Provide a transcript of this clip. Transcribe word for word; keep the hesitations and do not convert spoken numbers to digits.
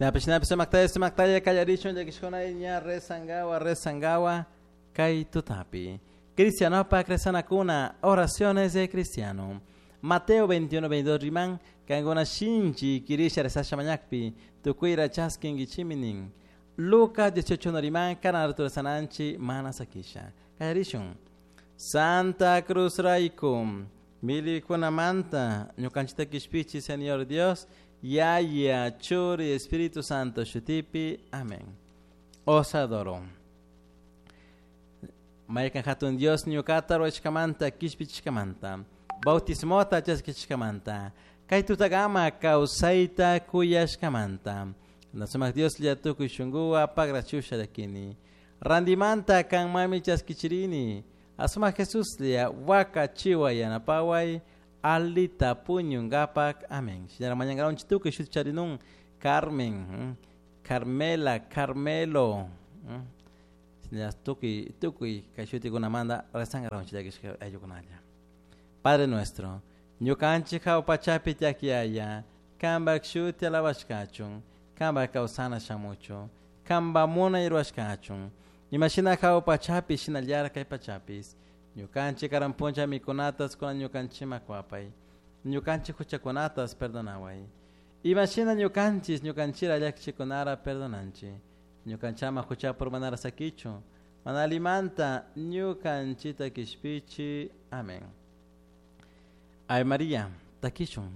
Napishinapi sumaktaya sumaktaya kallarishun llakishkuna ña rezangawa rezangawa kay tutapi. Cristianopak rezanakuna, oraciones de cristiano. Mateo veintiuno veintidós riman, kankuna shinchi kirisha rezasha mañakpi, tukuyra chaskinkichimi nin. Lucas dieciocho uno riman, kana rezananchi mana sakisha. Kallarishun. Santa Cruz raikum, milikunamanta, ñukanchita kishpichi, Señor Dios, Yaya, Churi, Espíritu Santo, Shutipi, amén. Os adoro. Maykan hatun Dios ñukata ruwashkamanta, kishpichishkamanta, bautismota chaskishkamanta, kay tutagama kawsayta kuyashkamanta. Nasumak Dios llatukuy shunkuwa pagrachusha llakini. Randimanta kanmami chaskichirini. Asumak Jesus lia waka chiwa yanapaway alita puñungapak. Amén. Señora mañangaron chitukuy shut charinun Carmen, Carmela, Carmelo. Señora tukuy tukuy kay shutikunamanta rezangaron chillakishka ayukunalla. Padre nuestro, ñukanchik hawpachapi tiakyaya, kanpak shuti alabashkachun, kanpak kawsana shamuchun, kanpak munay ruwashkachun. Imashina hawpachapi shinallara kay pachapis, ñukanchik karan puncha mikunatas kuna ñukanchima kuapay, ñukanchik huchakunatas perdonaway. Imashina ñukanchis ñukanchira llakichikunara perdonanchi, ñukanchama huchapur manara sakichu, mana alimanta ñukanchita kishpichi. Amén. Ay María, takishun.